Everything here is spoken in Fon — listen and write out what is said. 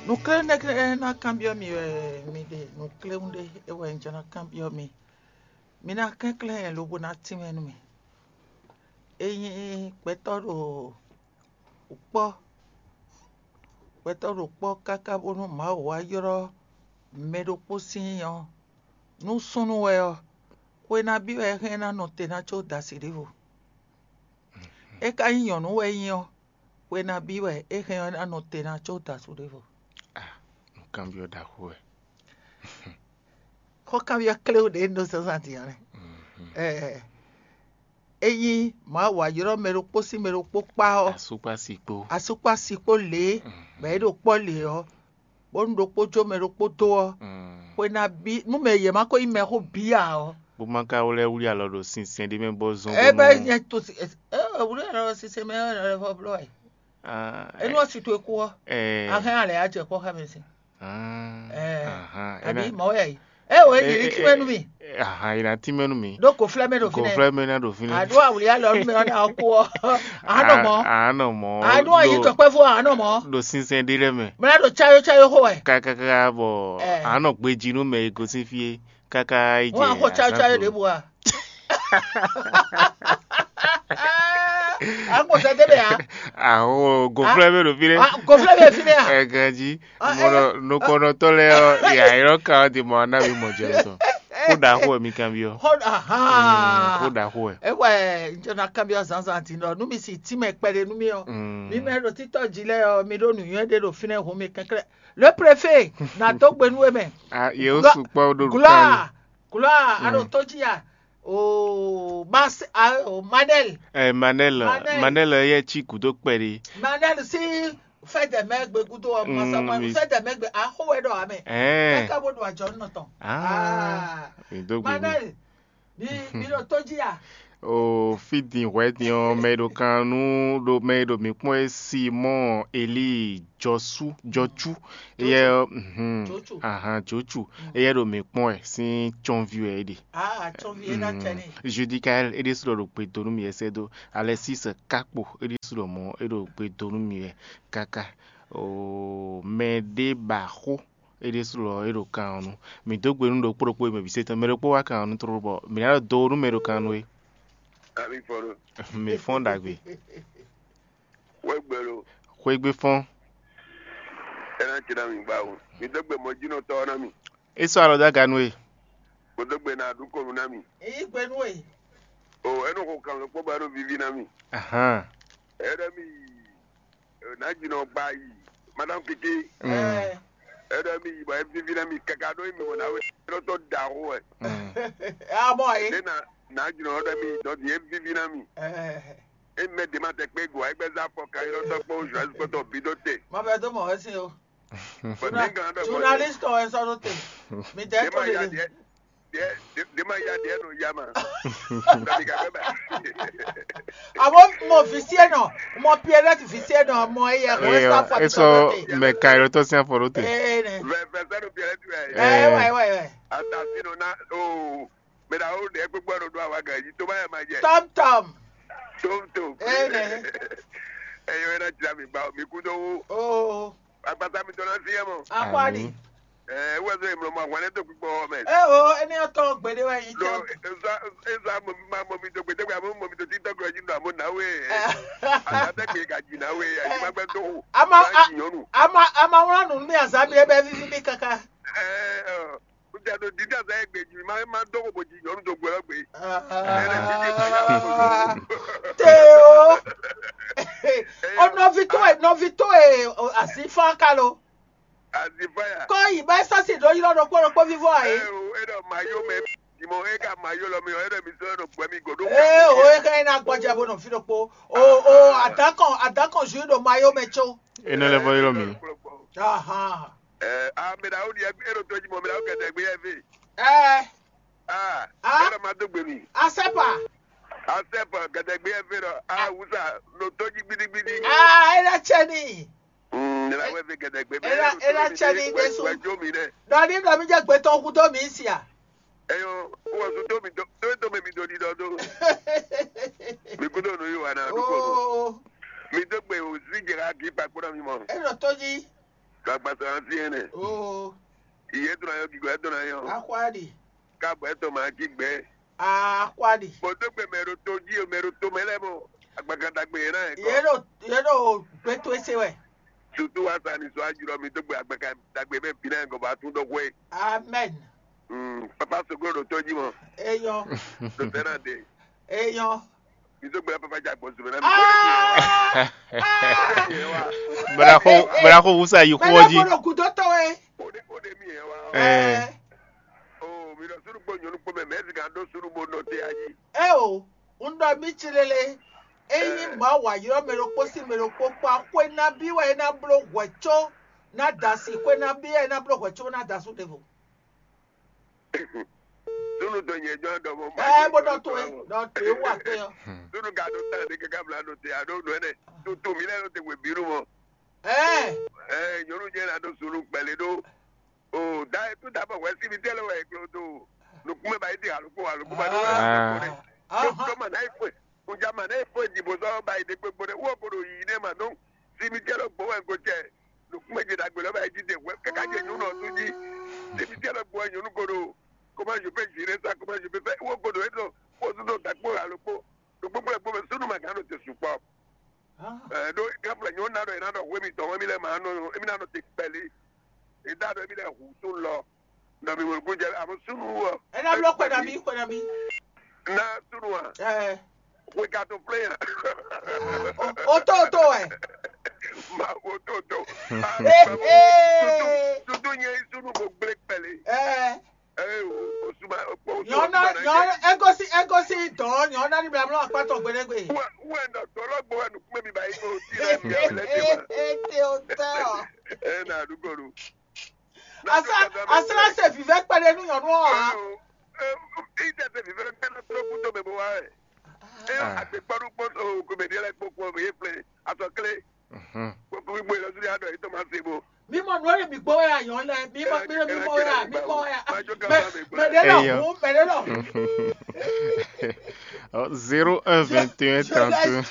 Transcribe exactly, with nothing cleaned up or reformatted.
Nǔkléwún ɖé ná kanbyɔ́ mi wɛ mi ɖe, nǔkléwún ɖé é wɛ un jɛ ná kanbyɔ́ mi. Mi ná kɛnklɛ́n nyɛ lobo ná tínmɛ nú mì. É nyí gbɛtɔ́ ɖo kpɔ́, gbɛtɔ́ ɖo kpɔ́ káká bónú Mawu wá ylɔ́ mɛ ɖokpó sín ɔ́, nú súnnu wɛ ɔ́, xwe nabí wɛ é hɛn ná nɔ te ná có da asi ɖěvo? É ka nyí nyɔ̌nu wɛ é nyí ɔ́, xwe nabí wɛ é hɛn ɔ́ ná nɔ te ná có da asú ɖěvo? Ah, nǔkanbyɔ́ ɖaxó wɛ. Xɔkanbyɔ́ kléwú ɖě un ɖó zǎnzǎn din ɔ́ nɛ́. Ɛɛ, ényí Mawu wá ylɔ́ mɛ ɖokpó sín mɛ ɖokpó kpá ɔ́, Asú kpó asi kpó. Asú kpó asi kpó lě bɔ é ɖo kpɔ́ lě ɔ́, bónú ɖokpó jó mɛ ɖokpó dó ɔ́, xwe ná bí nú mɛ yě má ko nyí mɛxó bǐ ǎ ɔ́. Bó má ka wlɛ́ wlí alɔ ɖo sinsɛn ɖé mɛ bɔ zɔn. É bɛ́ nyɛ to si ɛ wlí alɔ ɖo sinsɛn mɛ ɔ́ lɛ vɔ bló wɛ. Enu ɔ́ si towe kú ɔ́, ahɛn alɛ á jɛ kpɔ́ xá mɛ sin. Ɛɛ, àbí mɔ̌ wɛ yìí. Ɛ o, èyí ní tínmɛ nú mi. Ahan, yìí ná tínmɛ nú mi. Ɖó kò flɛ́ mɛ ɖo fínɛ́. Kò flɛ́ mɛ ná ɖo fínɛ́. Àdó awuli alɔ nú mɛ ɔ́ ná ɔ́ kú ɔ́. Àánɔ mɔ̌. Àánɔ mɔ̌. Àánú ɔ́ yí tɔkpɛ́vú àánɔ mɔ̌. Ɖo sinsɛn ɖé lɛ́ɛ mɛ. Mɛ ná ɖo cáyó cáyó xó wɛ. Kákáká bɔ àánɔ gbejí nú mɛ e gosín fí é káká yi jɛ. Wọ́n á xó cáyó cáyó ɖěbǔ a? Àánú kò sɛ débè a? Àánú gòfúlɛ́ mɛ ɖo fínɛ́. Gòfúlɛ́ mɛ fínɛ́ a? Ɛ ganjí. Mɔnɔ nukɔnɔtɔ lɛ ɔ, yayɔ ka ɔ di mɔ anabi mɔ jɛ tɔ. Ko da xo mi kan bi ɔ. Xo da xo ɛ. Ewɛ njɔ na kan bi ɔ zanzan ti nɔ nu mi si ti mɛ kpɛɖe nu mi ɔ. Mi mɛ ɖo titɔ ji lɛ ɔ, mi ɖo nuyɔ ɖe ɖo finɛ hu mi kɛnklɛ. Le préfet na dó gbe nu e mɛ. Ah, ye o sukpɔ ɖo kan. Gloire, gloire, alo toji ya. O Manel. Eh, Manel, Manel ye ci kudo kpɛɖe. Manel si fɛdɛ mɛ gbe kudo ɔ masa ma fɛdɛ mɛ gbe axo wɛ ɖɔ amɛ. Eh. Kaka bo ɖo ajɔ nɔ tɔn. Ah. Mi do gbe. Manel, mi mi ɖo toji ya. O fidin hwɛ din ɔ mɛ ɖo kan nu ɖo mɛ ɖo mi kpɔn e Simɔn Eli Jɔsu Jɔcu. Eyɛ mhm. Ahan Jɔcu. Eyɛ ɖo mi kpɔn ɛ sin tsɔnvi wɛ e ɖe. Ah, tsɔnvi e na tsɛ ni. Judikael e ɖe su ɖo gbe do nu mi ɛsɛ do. Alexis Kakpo e ɖe su ɖo mɔ e ɖo gbe do nu mi wɛ kaka. O mɛ ɖe ba xo e ɖe su lɔ e ɖo kan ɔ́ nu. Mi do gbe nu ɖokpó ɖokpó e mɛ bi se tɔn mɛ ɖokpó wa kan ɔ́ nu tlóló bɔ mi ná do nu mɛ ɖo kan nu e. Ami fɔ ɖo. Mi fɔn ɖagbe. Wegbe lo. Xwegbe fɔn. Ena tsi na mi gba o. Mi do gbe mɔ jinɔ tɔ na mi. E sɔ alɔ da ganu e. Mo do gbe na du konu na mi. Eyi gbe nu e. O enu ko kan lo kpɔ ba ɖo vivi na mi. Ahan. Ena mi. Ena jinɔ gba yi. Madame Kiki. Mm. Ena mi yi ba e vivi na mi kaka ɖo mi mo na we. Eno to da ho e. Ah bon e. Ena na jinɔ ɖe mi dɔ di e vivi na mi. E mɛ de ma tɛ kpe go e gbɛ za fɔ ka yɔ tɔ kpɔ journaliste kpɔtɔ bi ɖo te. Ma bɛ do mɔ wɛ si o. Journaliste wɛ sɔ ɖo te. Mi tɛ to ɖe. De ma ya de no ya ma. Ami ka gbɛ ba. Abo mɔ visi enɔ, mɔ Pierrette visi enɔ, mɔ eye ko sa fɔ. Eso mɛ ka yɔ tɔ si afɔ ɖo te. Ee ne. Vɛ vɛ sɛ no Pierrette wɛ. Ee wɛ wɛ wɛ. Atasi no na o. Mɛ na o ɖe kpekpe ɖo ɖo awa gan yi to ma yɛ ma jɛ. Tom tom. Tom tom. Ee ne. Eyɔ ena jira mi ba mi kudo wo. Oo. Agbata mi tɔ na si yɛ mɔ. Akwani. Ee wɛ so emlɔ mɔ ahwan ne to kpekpe wɔ mɛ. Ee o eni ɔtɔ gbede wɛ yi tɔ. Eza eza mɔ mi ma mɔ mi to gbede wɛ mɔ mi to ti tɔ kura ji nɔ amɔ na we. Agbata gbe ka ji na we ayi ma gbɛ to. Ama ama ama wla nu mi azami ebe vivi mi kaka. Ee. Ŋutsu ɖo dídá zɛ egbe jí ma ma dó xo bó jí nyɔnu dó gbɛ lɔ gbe. Teo. O nɔvi towe nɔvi towe asi fán ka lo. Asi fán ya. Kɔ yi bɛ sɔsi ɖo ylɔ ɖokpó ɖokpó vivɔ ayi. Ɛ o e ɖɔ ma yó mɛ dimɔ e ka ma yó lɔ mi ɔ e ɖɔ mi sɔ ɖo gbɛ mi godo. Ee o e ka yi na gbɔjɛ bo nɔ fi ɖokpó o o adakɔn adakɔn ju ɖo ma yó mɛ tso. Ene lɛ vɔ ylɔ mi. Ahan. Ɛ a mɛ ɖawo ɖi e ɖo to jí mɔ mɛ ɖawo kɛtɛ gbé yɛ fɛ. Ɛɛ. Aa Ah. Ena ma dó gbe mi. Asɛpa. Asɛpa gɛdɛgbé yɛ fɛ ɖɔ a wusa ɖo tó jí gbidigbidi. Aa ena tsɛ ni. Mm, ena wɛ fɛ gɛdɛgbé bɛ Ena ena tsɛ ni desu. Wɛ jo mi dɛ. Dɔ ni dɔ mi jɛ gbɛtɔ kudo mi sia. Eyo, wɔ su tó mi tó tó mi do di dɔ do. Mi kudo nu yi wa na du ko. Oo. Mi dó gbe o zi jɛ ka gi pa kpɔɖɔ mi mɔ. Ena tó jí. Gbagba sɔ asi ene. Oo. Iye to na yɔ, gigo to na yɔ. Akwadi. Ka bɔ to ma ki gbɛ. Akwadi. Bɔ to gbɛ mɛ ɖo to ji, mɛ ɖo to mɛ lɛ mɔ. Agbaka dagbe yɛ na yɛ kɔ. Ye ɖo ye ɖo gbɛto ese wɛ. Tutu wa sa ni so ajurɔ mi to gbɛ agbaka dagbe bɛ bi na yɛ kɔ ba tun dɔ hwe. Amen. Mm, papa soglo ɖo to ji mɔ. Eyɔ. Do tɛ na de. Eyɔ. Mi to gbɛ papa ja gbɔ zumɛ na mi. Ah! Brako brako wusa yi kú ɔjí. Mɛ lɛ gbɔdɔ gudɔ tɔ wɛ. O de o de mi yɛ wa. Eh. Oh, mi ɖɔ sunu kpɔ nyɔnu kpɔ mɛ mɛ sika ɖo sunu bo nɔ te ayi. Eo, un ɖɔ mi tsi lele. Eyi ma wa yrɔ mɛ ɖokpó sí mɛ ɖokpó kpa xwe na bi wɛ e na bló hwɛ tso na da si xwe na bi wɛ e na bló hwɛ tso na da su ɖevo. Sunu dɔ nyɛ jɔ dɔ mɔ. Ɛ bó dɔ to ɛ dɔ to ɛ wa kpɛ yɔ. Sunu ka ɖo tan ɖe kɛkɛ bla ɖo te aɖo ɖo ɛnɛ. Tutu mi lɛ ɖo te wɛ bínú mɔ. Ɛ. Ɛ nyɔnu jɛ na ɖo sunu kpɛlɛ ɖo. O da e tu da bɔ wɛ si mi tɛ lɛ wɛ e klo do. Nukun mɛ ba yi di alukó alukó ba ɖo wɛ. Ah. Aha. Tɔmɔ na yi fue. Ŋdza ma nɛ fo dìbò sɔ́ ba yi ɖe kpekpo ɖe wó ko ɖo yiyi nɛ ma dɔn. Cimetière lɔ gbɔ wɛ ko cɛ. Nukúnmɛ ce ɖagbe lɔ ba yi jide wɛ kaka ce nyɔnu ɔ́ tún jí. Cimetière lɔ gbɔ wɛ nyɔnu ko ɖo. Comment je peux gérer ça, comment je peux faire? Wó ko ɖo étɔ. Kpó súnú ɖo gakpó alo kpó. Ɖo kpókpó lɛ kpó mɛ súnú ma gán ɖo te sukpɔ. Ɛ ɖó gáflɛ nyɔnu ná ɖɔ é ná ɖɔ hwé mitɔn wɛ mi lɛ ma nɔ émi ná nɔ te kpɛlí. Ìdá ɖɔ émi lɛ hǔ tún lɔ. Nɔ mi wòlú jɛ àmọ́ súnú wɔ. Ena blɔ kpɛ na mi kpɛ na mi. Na súnú wa. Ɛ. Weka tó plé yan. O tó o tó wɛ. Ma o tó o tó. Ee. Tutu nye súnú ko gblé kpɛlí. Ɛ. Ee o suma o suma. Nyɔna nyɔna egosi egosi dɔn nyɔna ni bla mlɔ akpatɔ gbɛdɛgbɛ. Wɛ wɛ nɔ dɔlɔ gbɔ wɛ nukun mi ba yi ko ti lɛ mi awɛ lɛ ti ma. Ete o tɔ. Ɛ na dugolu. Asra asra se vivɛ kpɛɖe nu nyɔnu ɔ. Ite se vivɛ kpɛɖe nu kúndó mɛ bɔ wa ɛ. Ɛ agbekpɔɖu kpɔtɔ komedi lɛ kpokpo ye flɛ asɔ kle. Kpokpo gbogbo yɛ lɔsiri adɔ yitɔ ma se bo. Mi mɔ nɔ ye mi gbɔ ya yɔn lɛ mi mɔ mi mi mɔ ya mi mɔ ya. Mɛ de lɔ hu mɛ de lɔ. Zéro un vingt et un trente.